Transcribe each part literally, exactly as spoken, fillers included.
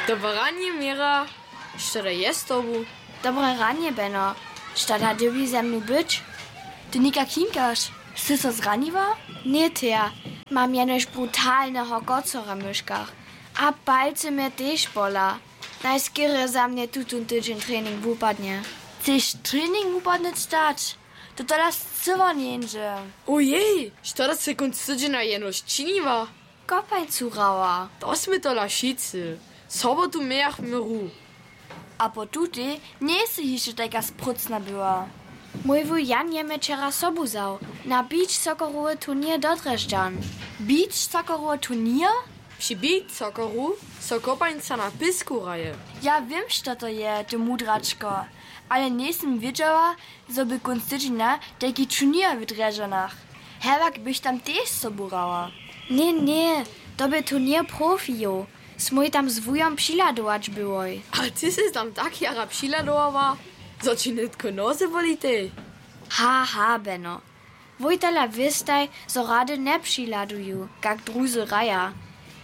Dobre ranje, Měra. Što da je z tobu? Dobre ranje, Beno. Što da dyrbi ze mnu być? Ty někak hinkaš? Sy so zraniła? Ně, Thea. Mam jenož brutalneho kocara w myškach. A palcy mje tež bola. Najskerje za mnje tutón tydźeń trening wupadnje. Chceš trening wupadnyć dać? To tola scyła njeńdźe. Ojej, što da sy kónc tydźenja jenož činiła? Kopańcu hrała. To smy tola wšitcy. Sobotu mějachmy hru. A po tutej njejsy hišće tajka sprócna była. Mój wuj Jan je mje wčera sobu wzał na beach soccerowy turněr do Drježdźan. Beach soccerowy turněr? Při beach socceru so kopańca na pěsku hraje. Ja wěm, što to je, ty mudračko, ale njejsym wědźała, zo by kónc tydźenja tajki turněr w Drježdźanach. Hewak bych tam tež sobu hrała. Ně, ně, to bě turněr profijow. Smój tam z wujom přihladować byłoj. A ty sy tam tak jara přihladowarła, zo ći nětko noze bolitej? Ha, ha, Beno. Wój tola wěstaj, zo rady njepřihladuju, kak druzy hraja.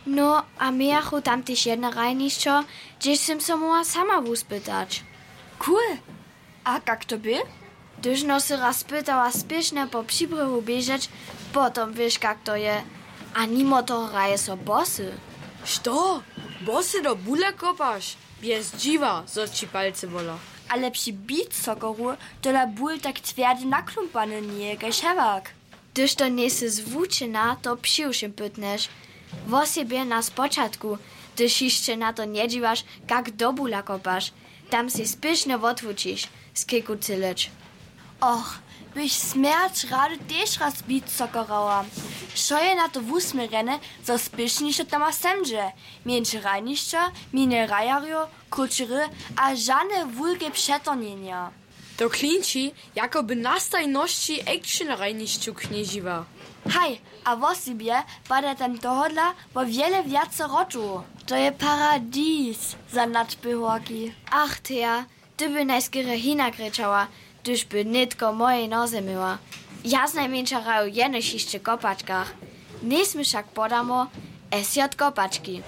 No, a mějachu tam tež jedne hrajnišćo, hdźež sym so móhła sama wuspytać. Cool. A kak to bě? Hdyž no sy raz spytała spěšnje po přibrěhu běžeć, potom wěš, kak to je. A nimo toho hraje so bosy. Što? Bosy do bula kopaš? Bjez dźiwa, zo ći palcy bola. Ale při beach socceru tola bul tak twjerde naklumpany njeje kaž hewak. Hdyž to njejsy zwučena, to přiwšěm pytnješ. Wosebje na spočatku, hdyž hišće na to njedźiwaš, kak do bula kopaš. Tam sej spěšnje wotwučiš, skejku cyleć. Och, bych smjerć rady tež raz beach soccer hrała. Wšo je na to wusměrjene, zo spěšnišo tam a semdźe. Mjeńše hrajnišća, mjenje hrajerjow, krótše hry a žane wulke přetornjenja. To klinči, jako by na stajnosći action hrajnišću knježiła. Haj, a wosebje pada tam tohodla wo wjele wjace rotow. To je paradis za nadběhorki. Ach, Thea, ty by najskerje hinak rěčała, hdyž by nětko mojej noze měła. Ja znajmjeńša hraju jenož hišće w kopačkach. Njejsmy wšak podamo, S J kopački.